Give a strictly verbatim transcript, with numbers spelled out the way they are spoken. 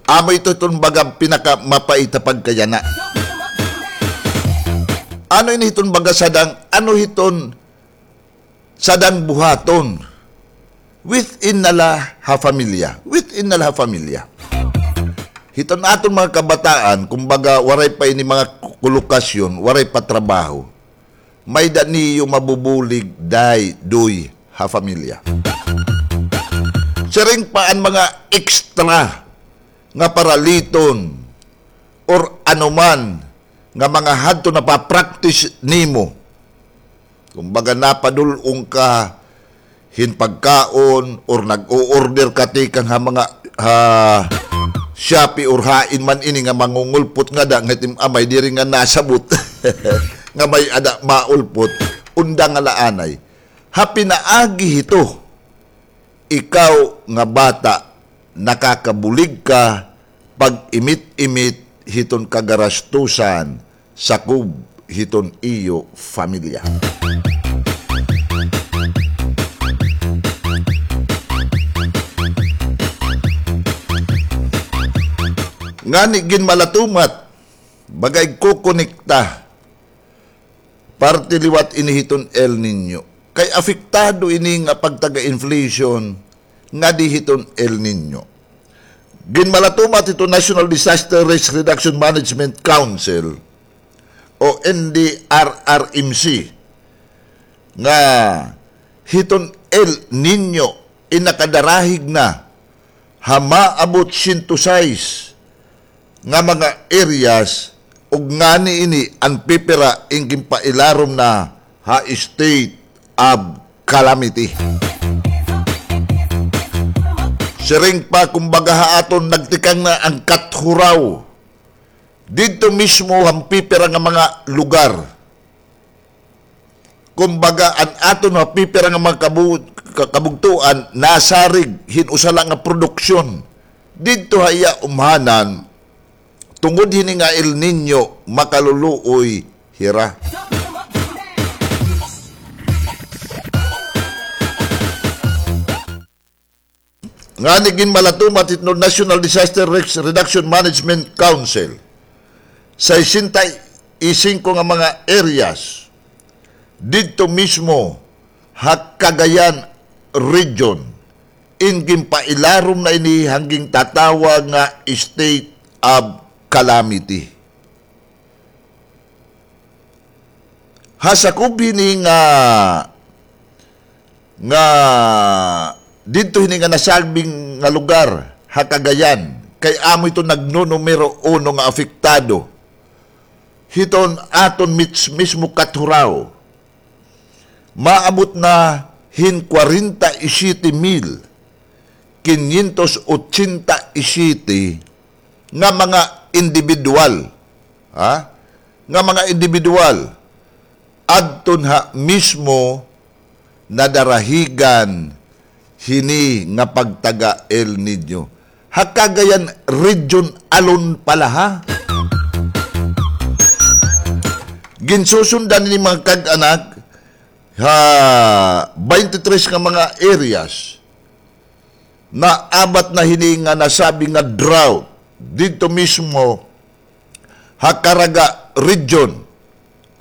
Amo ito iton baga pinakamapait ha pagkayana. Ano ini hiton baga sadang, ano hiton sadang buhaton? Within na la ha pamilya. Within na la ha pamilya. Hiton aton mga kabataan, kumbaga, waray pa ini mga ku-, kulokasyon, waray pa trabaho. May-ada niyo mabubulig, day, doy, ha pamilya. Siring pa an mga extra nga paraliton or anuman nga mga hadto napapractice nimo. Kumbaga, napadul-ong ka hin pagkaon or nag-o-order ka tikang ha mga, ha Shopee or hain man ini nga mangungulpot ngada nga it im amay diri nga nasabot nga may-ada maulpot, undang nga la anay. Ha pinaagi hito, ikaw nga bata, nakakabulig ka pag-imit-imit hiton kagarastusan sakob hiton iyo pamilya. Ngani ginmalatumat, baga igkukonekta parte liwat ini hiton El Niño. Kay apektado ini nga pagtaga-inflation ngadi hiton El Niño. Ginmalatumat hiton National Disaster Risk Reduction Management Council o N D R R M C nga hiton El Niño in nakadarahig na ha maabot siyento sais nga mga areas, ug ngani ini an pipira in ginpailarom na ha state of calamity. Siring pa, kumbaga, ha aton nagtikang na an Kathurao. Didto mismo han pipira nga mga lugar. Kumbaga, an aton ha pipira nga mga kabu-, ka-, kabugtoan, nasarig hin usa la nga produksyon. Didto ha iya umhanan, tungod hini nga El Niño, makaluluoy hira. Ngani ginmalatumat hiton National Disaster Risk Reduction Management Council, sesenta y cinco nga mga areas didto mismo ha Cagayan Region, in ginpailarom na ini han gintatawag nga state of calamity. Ha sakob hini nga, nga didto hini nga nasabing nga lugar ha Cagayan, kay amo ito nagnunumero uno nga apektado hiton aton mis-, mismo Kathurao. Maabot na hin kwarenta y siyete mil kinyentos otsenta y siyete nga mga indibidwal, ha? Nga mga indibidwal adton ha mismo nadarahigan hini nga pagtaga El Niño. Ha Cagayan Region alone pala, ha? Ginsusundan ini, mga kag-anak, ha baynte tres nga mga areas, naabat na hini nga nasabi nga drought didto mismo ha Caraga Region,